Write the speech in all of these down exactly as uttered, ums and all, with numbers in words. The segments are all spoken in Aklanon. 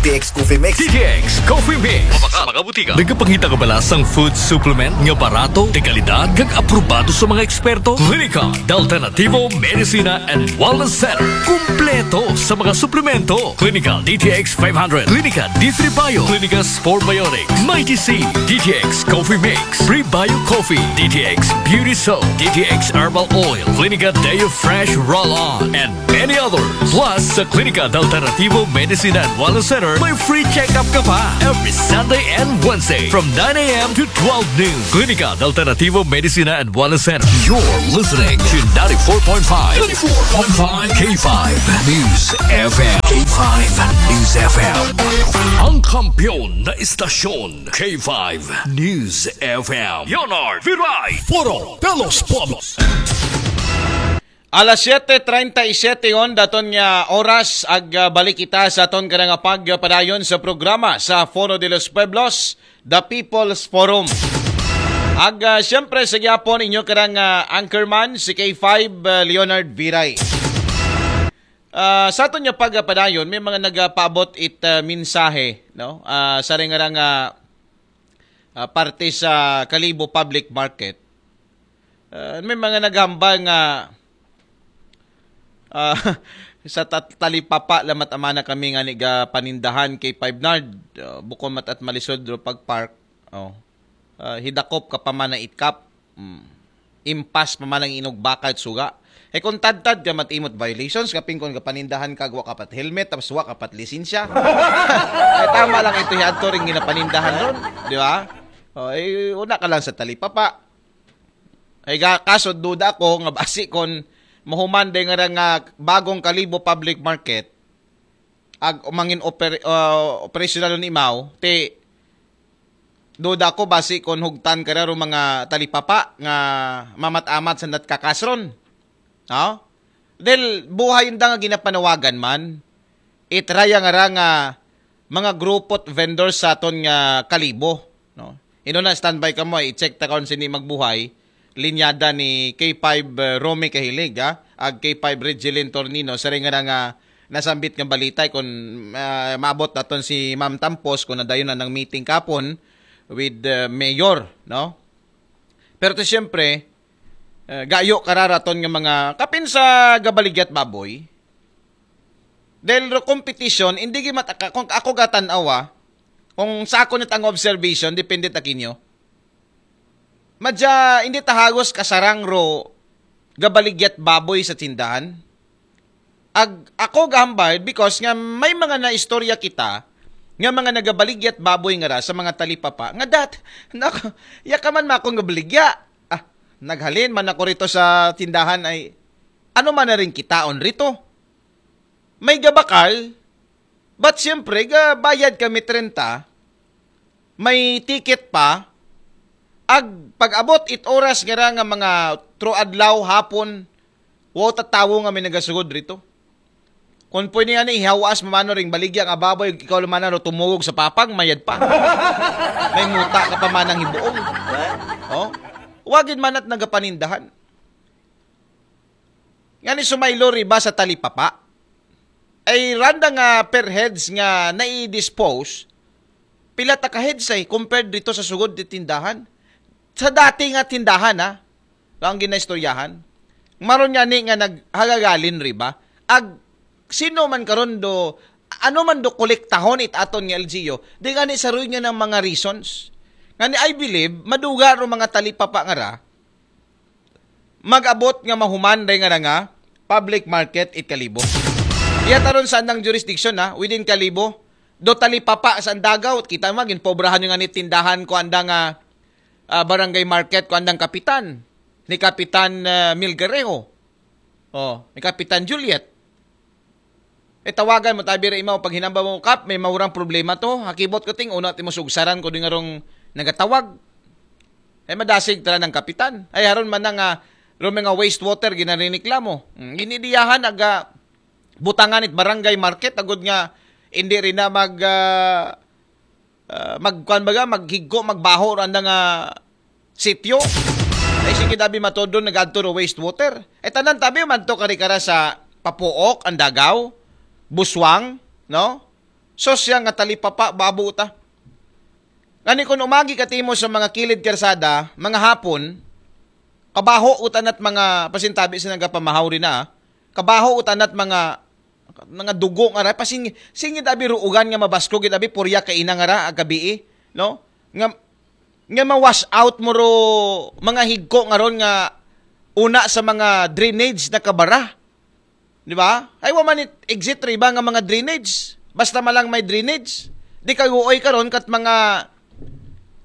T X Coffee Mix. D T X Coffee Mix. Mabaka sa mga butika. Nagapangita ka bala sang food supplement nga barato, de kalidad, kag aprobado sa mga eksperto? Klinika de Alternativo Medicina and Wellness Center. Kumpleto sa mga suplemento. Klinika D T X five hundred, Klinika D three Bio, Klinika Sport Biotics, Mighty C, D T X Coffee Mix, Prebio Coffee, D T X Beauty Soap, D T X Herbal Oil, Klinika Deo Fresh Roll-On, and many others. Plus, sa Klinika de Alternativo Medicina and Wellness Center, may free check-up ka pa every Sunday and Wednesday from nine a.m. to twelve noon. Klinika de Alternativo Medicina and Wellness Center. You're listening to ninety-four point five, ninety-four point five K five News F M. K five News F M. Ang kampiyon na istasyon, K five News F M. Leonard Viray. Foro de los Pueblos. Alas siete treinta y siete yon daton nga oras, ag ah, balik kita sa aton kada nga pagpadayon sa programa sa Foro de los Pueblos, The People's Forum. Ag ah, siyempre sa gyapon inyo karang ah, anchorman si K five ah, Leonard Viray. Ah, sa aton nga pagpadayon, may mga nagapaabot it ah, mensahe, no? Ah, sa ring nga ah, parte sa Kalibo Public Market. Ah, may mga naghambal nga ah, sa tat- talipapa lamat amana kami nga niga panindahan kay Five Nard. Ah, bukon mat at malisod ro pag park. Oh. Ah, hidakop ka pa man na itkap. Mm. Impas pa man ang inog bakal at suga. Eh kung tadtad ka matimot violations, kaping kung kapanindahan ka, wa ka pat helmet, tapos wa ka pat lisensya. Eh, tama lang ito hiadto ring ginapanindahan ron, di ba? O, eh, una ka lang sa talipapa. Ay ga, kaso duda ako nga basi kon mahuman day nga ra nga bagong Kalibo Public Market, ag umangin oper, uh, operational ni Mao, ti duda ko basi kon hugtan ka ra ro mga talipapa nga mamat-amat sa natkakasron. No? Dahil buhay yung nga ginapanawagan man, itraya nga ra nga mga grupo at vendors sa aton nga Kalibo. No? Ino na standby ka mo, i-check ta karon sini magbuhay, linyada ni K five uh, Romy Kahilig, ha? Ag K five Regilin Tornino, sa ring nga nga nasambit nga balita kung uh, maabot naton si Ma'am Tampos kung nadayon na ng meeting kapon with uh, Mayor, no? Pero to siyempre, uh, gayo kararaton nga mga kapin sa gabaligyat baboy, dahil ro competition, hindi gimat kung ako gatan-awa, kung sa ako nit ang observation, depende ta kinyo. Madya, hindi ta hagos kasarang ro gabaligyat baboy sa tindahan. Ag, ako gahambal because nga may mga naistorya kita nga mga nagabaligyat baboy nga ra sa mga talipapa nga dat nako ya ka man makong gabaligya ah naghalin man ako rito sa tindahan ay ano man na rin kitaon rito may gabakal but siyempre gabayad kami trenta may ticket pa ag pag-abot it oras nga ra nga mga tro adlaw hapon wow tatawo nga may nagasugod rito. Kung pwede nga ni ihawas mamano ring baligya nga baboy, ikaw naman ano tumugog sa papag, mayad pa. May muta ka pa manang hibuong. Oh? Wagid man at nagapanindahan. Nga ni sumaylo riba sa talipapa. Ay randa nga per heads nga nai-dispose, pila ta ka heads ay compared dito sa sugod di tindahan. Sa dati nga tindahan ha, ang ginaistoryahan. Maron nga ni nga naghagagalin riba. Ag sino man karon do ano man do kolektahon it aton nga L G U, di nga ni saruy nga ng mga reasons. Nga ni I believe maduga ro mga talipapa nga ra mag-abot nga mahuman day nga nga public market it Kalibo. Iya taron sa andang jurisdiction na within Kalibo do talipapa sa Andagaw kita magin pobrahan yung ani tindahan ko anda nga ah, barangay market ko andang kapitan ni Kapitan ah, Milgarejo. Oh, ni Kapitan Juliet. E tawagan mo tabi ra imaw pag hinamba mo kap may maurang problema to. Hakibot ko ting una ti mo sugsaran ko di nga rong nagatawag. E madasig tara ng kapitan. Ay haron man na nga ro mga wastewater ginariniklamo. Hmm, ginidiyahan aga butangan it barangay market agud nga hindi rin na mag ah, ah, magkuan baga maghigko magbaho ro anda nga sityo. Ay sige dabi matodon nagadto ro wastewater. E tanan tabi madto kari kara sa Papuok, Andagaw, Buswang, no? Sos siya nga talipapa, babo ta. Ngani kun umagi ka timo sa mga kilid karsada, mga hapon, kabaho utanat mga pasintabi sa nagapamahaw rin na, ah. Kabaho utanat mga, mga dugo nga ra, pasing, singit abi ruugan nga mabasko gid abi purya kaina nga ra agabii, no? Nga, nga ma-wash out mo ro mga higko nga ron nga una sa mga drainage na kabara. Di ba? Ay, wa man it exit ri ba nga mga drainage. Basta malang may drainage. Di kaguoy karon kat mga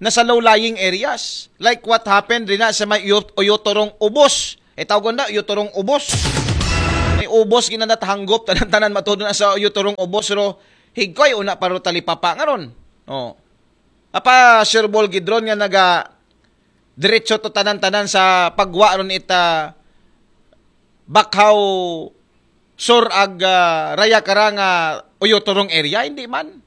nasa low-lying areas. Like what happened rin na sa may Uyo-, Uyotorong Ubos. Eh, tawgon na, Uyotorong Ubos. May ubos, ginanat hanggop, tanan-tanan matudo na sa Uyotorong Ubos, ro higkoy, una pa ro talipapa nga ron. Oh. Apa, Sir Bol Gidron nga naga diretso to tanan-tanan sa pagwa ron ita Bakhaw Sur ag, ah, Raya Karanga Uyotorong area, hindi man.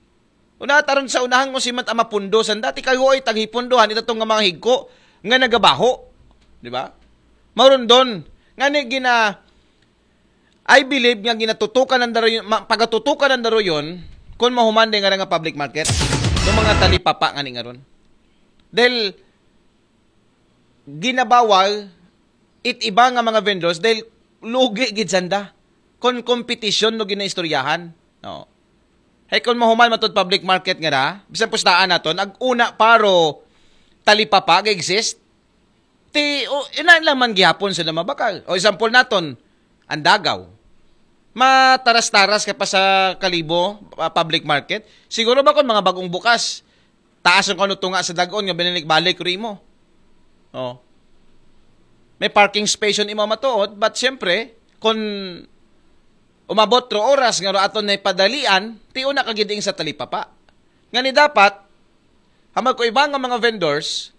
Una taron sa unahan mo si mat ama pundo sanda, ti kayo ay taghipundohan ito tong nga mga higko nga nagabaho. Di ba? Mauron doon. Nga ni gina, I believe nga ginatutukan ng daro yun, ma, pagatutukan ng daro yun, kung mahuman din nga nga public market, ng mga talipapa nga ni nga ron. Dahil ginabawal it iba nga mga vendors dahil lugi gid sanda kon kompetisyon no ginaistoryahan. No. Hay kon mahuman matud public market nga ra, bisan pustaan naton, ag una paro talipapa ga exist. Ti, o, ina lang man gihapon sila mabakal. O example naton, ang Dagaw. Mataras-taras ka pa sa Kalibo, ah, public market. Siguro ba kung mga bagong bukas, taas ang kano tunga sa dagon nga binalik-balik rin mo. Oh. May parking space yun imo matuod, but siyempre, kung umabot ro oras nga ro aton na ipadalian, ti una ka giding sa talipapa. Nga ni dapat, hamal ko iba nga mga vendors,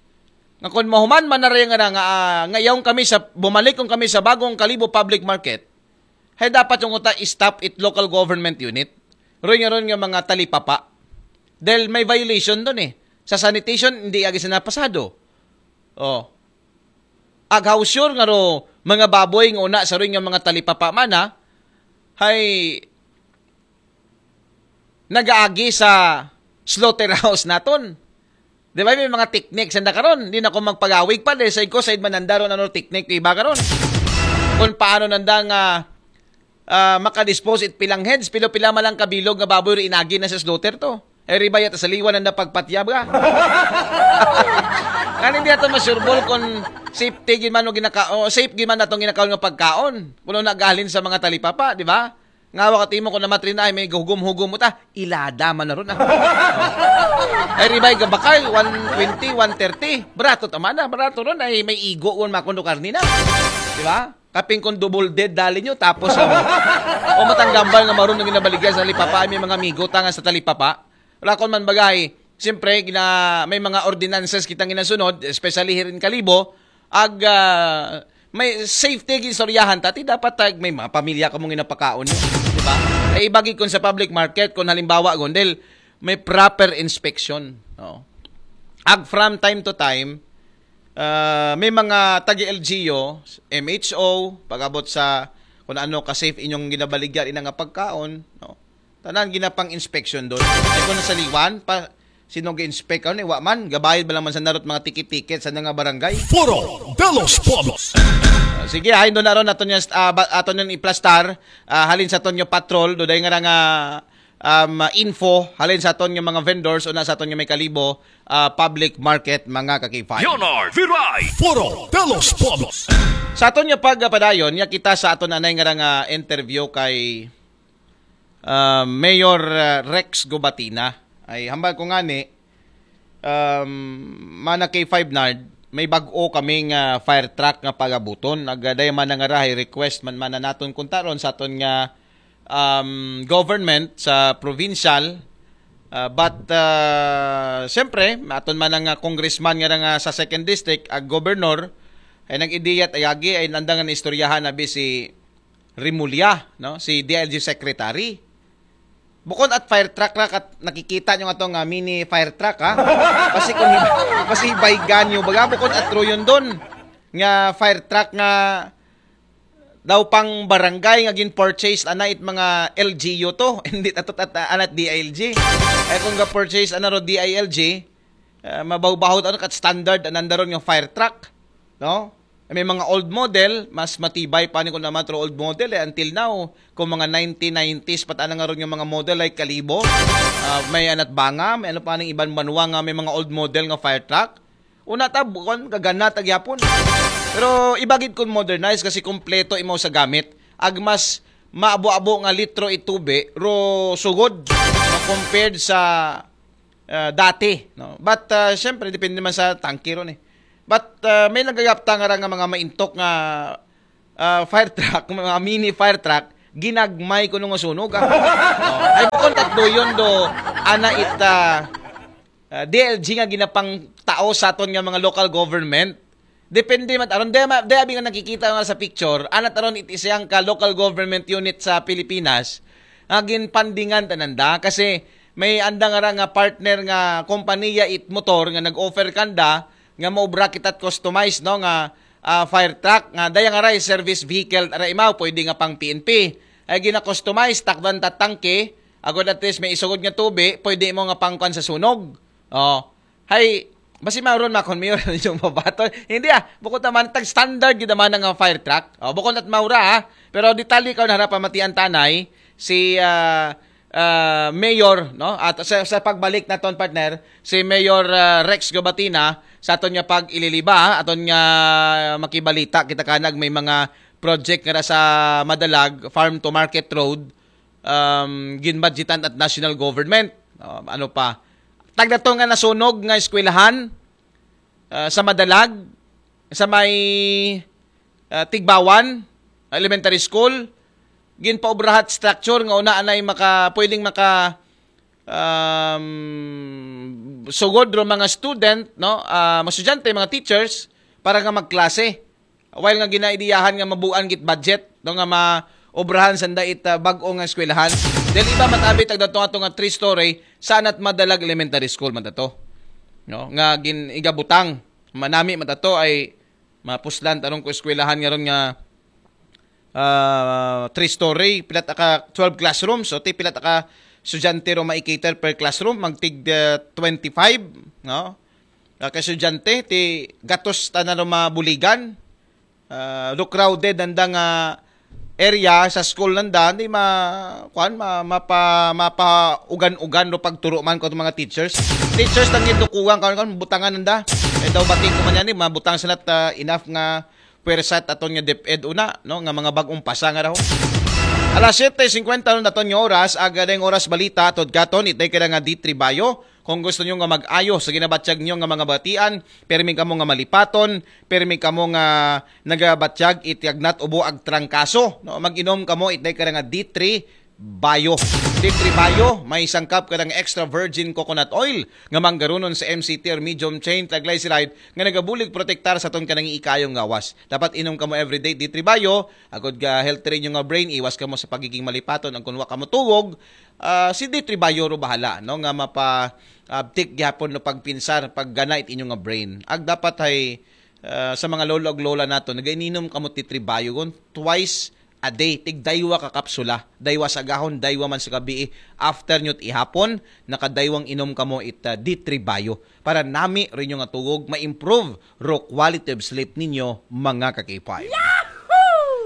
nga kung mahuman man na rin nga, nga, ah, nga yaong kami sa, bumalik kung kami sa bagong Kalibo Public Market, hay dapat yung uta stop it local government unit. Ron nga ron nga mga talipapa. Dahil may violation doon eh. Sa sanitation, hindi agi sila pasado. Oh. Ag how sure nga ro, mga baboy nga una sa ron nga mga talipapa man ha, hay nagaagi sa slaughterhouse naton. Di ba, may mga technique sanda karon. Di na ko magpagawig pa, dahil sa ko, sa mananda ron ano technique, di ba karon? Kung paano nanda nga, ah, makadispose it pilang heads, pilo-pila malang kabilog nga baboy ri inagi na sa slaughter to. Eh, riba yata sa liwan nanda pagpatyab ka. Ngani di ato masurebol kung safety gid man o ginaka-, o safe gid man atong ginakaon nga pagkaon. Kuno nagahalin sa mga talipapa, di ba? Nga wa ka timo ko na matrina ay may hugom-hugom mo ta, ilada man na ron, ah. Ay, ribay gabakal, one twenty, one thirty. Barato tama na, barato ron ay may igo, won makundo karni na. Di ba? Kaping kung double dead dali nyo, tapos, oh, o matanggambal nga maroon ng ginabaligyan sa talipapa, ay may mga amigo, tanga sa talipapa. Wala kon man bagay, siyempre, gina, may mga ordinances kitang ginasunod, especially here in Kalibo, ag, ah, may safety gin istoryahan ta, ti dapat tag may mga pamilya ka mong ginapakaon nyo, di ba? Ay ibagi kun sa public market, kung halimbawa, gondel, may proper inspection. No? Ag from time to time, ah, may mga tagi L G U, M H O, pag-abot sa kung ano ka-safe inyong ginabaligyan ina nga pagkaon, no? Tanan ginapang inspection doon. Ay kung nasa liwan, pa, sino ga-inspect? Ano, wa man, gabayad ba lang man sa narot mga ticket-ticket sa nga barangay? Foro de los Pueblos. Ah, sige, hain doon na ron, aton yung, ah, ba, aton yung iplastar, ah, halin sa aton yung patrol, do dahil nga nga, um, info, halin sa aton yung mga vendors, o na sa aton yung may Kalibo, ah, public market, mga kakipay. Leonard Viray. Foro de los Pueblos. Sa aton yung pagpadayon, ya kita sa aton anay nga nga interview kay, ah, Mayor, ah, Rex Gubatina. Ay, hambal ko nga ni, um, mana kay Five Nard, may bag-o kaming, ah, fire truck nga pagabuton. Nagaday man nga rahay request man man naton kuntaron sa aton nga, um, government sa provincial. Ah, but, ah, siyempre, aton man nga congressman nga nga sa second district, ag governor, ay nag-idiyat ay agi, ay nandang nga istoryahan na si Remulla, no? Si D I L G secretary. Bukod at fire truck ra kat nakikita nyo nga to nga mini fire truck, ha? Kasi kung hib-, kasi baygan nyo, baga bukod at ruyon doon nga fire truck nga daw pang barangay nga gin-purchase ana it mga L G U to. Hindi, ato, at, anat D I L G. Ay, kung ga-purchase ana ro D I L G, ah, mabawbahot ano kat standard ananda ron nga fire truck, no? May mga old model, mas matibay pa ni kung naman ro old model eh. Until now, kung mga nineteen nineties, pat ana nga ron yung mga model like Kalibo, ah, may anat Banga, may ano pa ning iban banwa nga may mga old model nga fire truck. Una ta, bukon, gagana ta gyapon. Pero ibagid kung modernize kasi kompleto imo sa gamit. Ag mas maabo-abo nga litro itubi, ro sugod na compared sa ah, dati, no? But ah, syempre depende man sa tangke ron eh. But ah, may nagagapta nga ra nga mga maintok nga ah, fire truck, mga mini fire truck, ginagmay kuno nga sunog ah. Oh, ay bukon tatlo yun do ana it ah, ah, D L G nga ginapang tao sa aton nga mga local government. Depende man aron, daya, ma- daya abi nga nakikita nga sa picture, anat aron it isang ka local government unit sa Pilipinas nga ginpandingan tananda kasi may anda nga ra nga partner nga kompanya it motor nga nag-offer kanda nga maobra kita customize, no, nga ah, fire truck nga daya nga ra service vehicle ra imaw, pwede nga pang P N P. Ay gina-customize, takdan ta tangke, agod at least may isugod nga tubi, pwede mo nga pangkuan sa sunog. Oh. Hay, basi mauron makon mayor yung babato. Hindi ah, bukod naman tag standard gid naman nga fire truck. Oh, bukod at maura ah. Pero detalye ka na harap pamatian tanay si ah, ah, Mayor, no? At sa, sa pagbalik naton partner, si Mayor ah, Rex Gobatina sa aton nga pag-ililiba, aton nga makibalita kita kanag may mga project nga sa Madalag, farm to market road, um, ginbudgetan at national government. Um, ano pa? Tagdato nga nasunog nga eskwelahan ah, sa Madalag, sa may ah, Tigbawan Elementary School, ginpaobrahat structure nga una anay maka pwedeng maka um, sugod ro mga student, no, ah, mga estudyante, mga teachers para nga magklase. While nga ginaidiyahan nga mabuan git budget, no, nga maobrahan sanda it ah, bag-o nga eskwelahan. Dahil iba matabi tagdato ato nga three story sa anat Madalag Elementary School man tato, no, nga gin igabutang manami man tato ay mapuslan tarong ko eskwelahan nga ron nga ah, three story, pilat aka twelve classrooms, o ti pilat aka estudyante ro maikater per classroom, magtig ah, twenty-five, no? Ah, ka estudyante ti gatos tanan ro mabuligan. Ah, do crowded nanda nga area sa school nanda, hindi ma kuan ma, mapa, mapaugan-ugan do pagturo man ko mga teachers. Teachers nang indukugan kan kan butangan nanda. Eh daw bating ko man yan, eh, mabutang sila ta enough nga pwersa at aton nga DepEd una, no, nga mga bag-ong pasa nga raw. Alas siyete singkwenta nun aton nga oras, aga dayong oras balita, atod katon, itay ka na nga D three Bayo. Kung gusto nyo nga mag-ayo sa ginabatyag nyo nga mga batian, permi kamo nga malipaton, permi kamo nga nagabatyag iti agnat ubo agtrangkaso, no? Mag-inom kamo itay ka na nga D three Bayo. D three Bayo, may sangkap ka ng extra virgin coconut oil nga manggarunon sa M C T or medium chain triglyceride nga nagabulig protektar sa aton kanang ikayong gawas. Dapat inom kamo everyday D three Bayo, agod ga healthy rin yung nga brain, iwas kamo sa pagiging malipaton, ang kunwa kamo tuwog, ah, si D three Bayo ro bahala, no, nga mapa abtik gyapon no pagpinsar, paggana it inyo nga brain. Ag dapat ay ah, sa mga lolo ag lola nato, nagaininom kamo ti tribayo gon twice a day, tig daywa ka kapsula, daywa sa gahon, daywa man sa gabii, after nyo ihapon, nakadaywang inom kamo it ah, di tribayo para nami rin nga tuwog ma-improve ro quality of sleep ninyo, mga kakipay.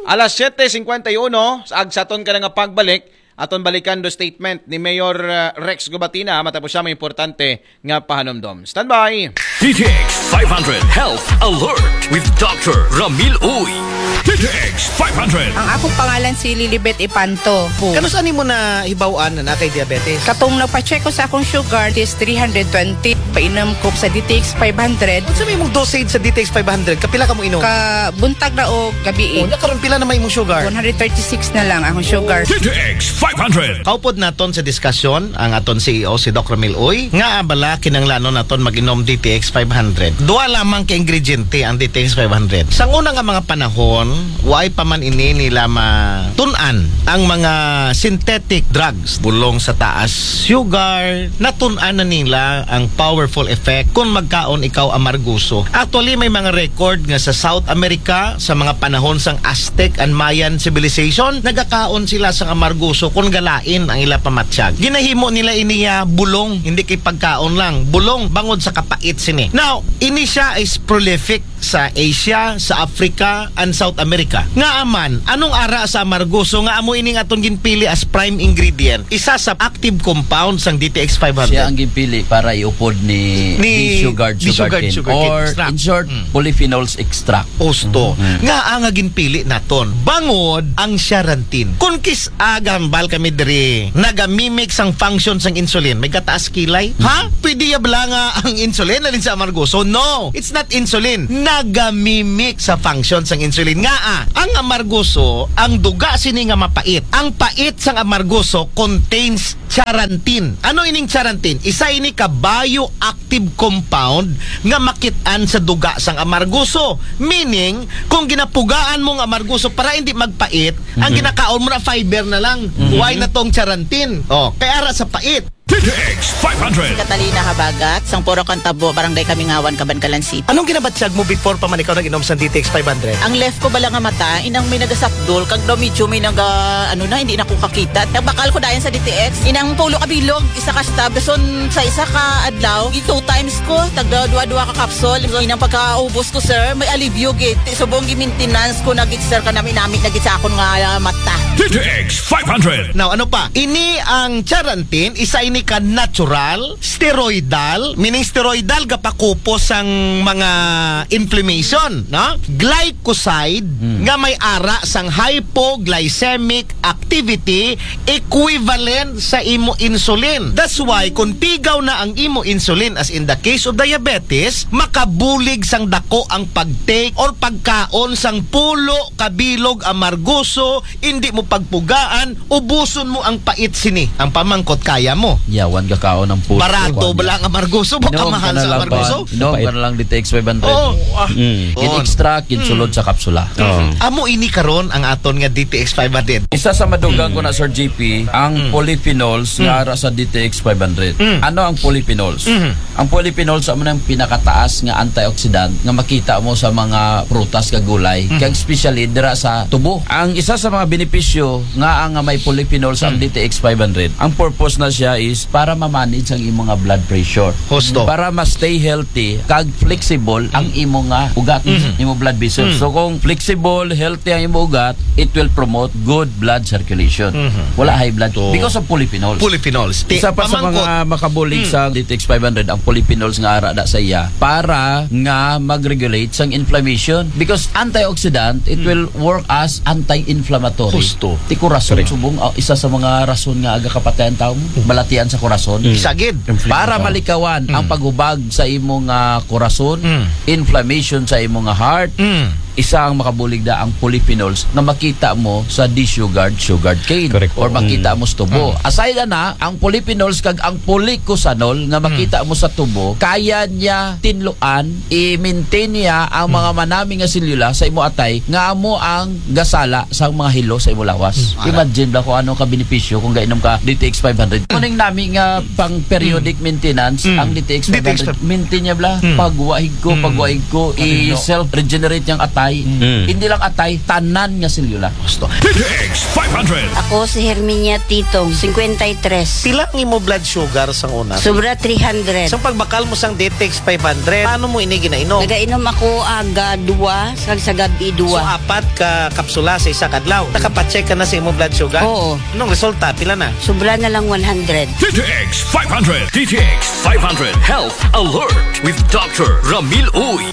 Alas siyete singkwenta y uno, sa agsaton ka na nga pagbalik, aton balikan do statement ni Mayor uh, Rex Gubatina matapos siya may importante nga pahanumdom. Standby! D T X five hundred Health Alert with Doctor Ramil Uy. D T X five hundred. Ang akong pangalan si Lilibet Ipanto. Kanus-an mo na hibaw-an na naa kay diabetes? Katong nagpa-check ko sa akong sugar is three hundred twenty. Painom ko sa D T X five hundred. Unsa may imong dosage sa D T X five hundred? Kapila ka mo inom? Ka buntag na o gabi. Oh, nya karon pila na may imong sugar? One hundred thirty-six na lang akong sugar. D T X five hundred. Kaupod naton sa diskusyon ang aton C E O, si Doc Ramil Uy, nga abala kinanglanon naton mag-inom D T X five hundred. Duha lamang ka ingrediente ang D T X five hundred. Sa una nga mga panahon, Kon, why pa man ini nila matun-an ang mga synthetic drugs, bulong sa taas sugar, natun-an na nila ang powerful effect kung magkaon ikaw amarguso. Actually, may mga record nga sa South America, sa mga panahon sang Aztec and Mayan civilization, nagakaon sila sang amarguso kung galain ang ila pamatyag. Ginahimo nila iniya bulong, hindi kay pagkaon lang. Bulong, bangod sa kapait sini. Now, ini siya is prolific sa Asia, sa Africa, and South America. Nga aman, anong ara sa amargoso nga amo ining atong ginpili as prime ingredient? Isa sa active compound sang D T X five hundred. Siya ang ginpili para iupod ni, ni D-sugared sugarcane. Or, in short, polyphenols extract. Osto. Nga ang ginpili naton. Bangod ang charantin. Kung kis-a gahambal kami diri, nagamimic sang function sang insulin. May gataas kilay? Ha? Pwede ya bala nga ang insulin alin sa amargoso? No! It's not insulin. Nagamimic sa function sang insulin. Nga ah, ang amargoso, ang duga sini nga mapait. Ang pait sang amargoso contains charantin. Ano ining charantin? Isa ini ka bioactive compound nga makit-an sa duga sang amargoso. Meaning, kung ginapugaan mo ang amargoso para hindi magpait, ang ginakaon mo na fiber na lang. Why na tong charantin? Oh, kaya ara sa pait. D T X five hundred. Catalina Habagat, sang Puro Kantabo, Barangay Kamingawan, Kabankalan City. Anong ginabatyag mo before pa man ikaw nag-inom sa D T X five hundred? Ang left ko bala nga mata, inang may nagasakdol, kag daw medyo may naga, ano na, hindi na ko kakita. Nagbakal ko dayon sa D T X, inang pulo ka bilog, isa ka stab, gason sa isa ka adlaw, two times ko, tagda dua-dua ka capsule. So, inang pagkaubos ko, sir, may alibyo gid. Ti subong gi-maintenance ko na gid, sir, kanami-nami na gid sa akon nga, ah, mata. D T X five hundred. Now, ano pa? Ini ang charantin, isa ini ka natural, steroidal, meaning steroidal, gapakupos ang mga inflammation, no? Glycoside, nga may ara sang hypoglycemic activity equivalent sa imo insulin. That's why, kung pigaw na ang imo insulin, as in the case of diabetes, makabulig sang dako ang pag-take or pagkaon sang pulo ka bilog amargoso, hindi mo pagpugaan, ubuson mo ang pait sini. Ang pamangkot, kaya mo? Yawan ka kaon ang pulo. Barato bala ang amargoso, baka mahal sa amargoso. Inom ka na lang D T X five hundred. Oo. Ah. Gin-extract, ginsulod sa kapsula. Amo ini karon ang aton nga D T X five hundred. Isa sa madugang ko na, Sir J P, ang polyphenols nga ara sa D T X five hundred. Ano ang polyphenols? Ang polyphenols, amo nang pinakataas nga antioxidant nga makita mo sa mga prutas kag gulay, kag especially dira sa tubo. Ang isa sa mga benepisyo nga ang may polyphenols ang D T X five hundred, ang purpose na siya is para ma-manage ang imo nga blood pressure. Husto. Para ma-stay healthy kag flexible ang imo nga ugat, imo blood vessels. So kung flexible, healthy ang imo ugat, it will promote good blood circulation. Wala high blood because of polyphenols. Polyphenols. Isa pa sa mga makabulig sa D T X five hundred, ang polyphenols nga ara da sa iya para nga mag-regulate sang inflammation. Because antioxidant, it will work as anti-inflammatory. Husto. Ti kurason, subong, ah, isa sa mga rason nga aga kapatayan tawo mo, balatian sa kurason. Sagid. Para malikawan ang pagubag sa imo nga kurason, inflammation sa imo nga heart, isa ang makabulig da ang polyphenols nga makita mo sa desugared sugarcane or makita mo sa tubo. Aside ana, ang polyphenols kag ang polycosanol nga makita mo sa tubo, kaya niya tinluan, i-maintain niya ang mga manami nga selula sa imo atay nga amo ang gasala sa mga hilo sa imo lawas. Imagine ba kung ano ka benepisyo kung gainom ka D T X five hundred. Kuning nami nga pang periodic maintenance, ang D T X five hundred, maintain niya bala. Pagwaig ko, pagwaig ko, i-self-regenerate yang atay. Hindi lang atay, tanan nga selula. Gusto. D T X five hundred. Ako si Herminia Titong, fifty-three. Pila ang imo blood sugar sang una? Sobra three hundred. Sa pagbakal mo sang D T X five hundred, paano mo ini ginainom? Nagainom ako aga dua, sa, sa gabi dua. So, apat ka kapsula sa isa ka adlaw. Nakapacheck ka na sa imo blood sugar? Oo. Anong resulta? Pila na? Sobra na lang one hundred. D T X five hundred. D T X five hundred Health Alert with Doctor Ramil Uy.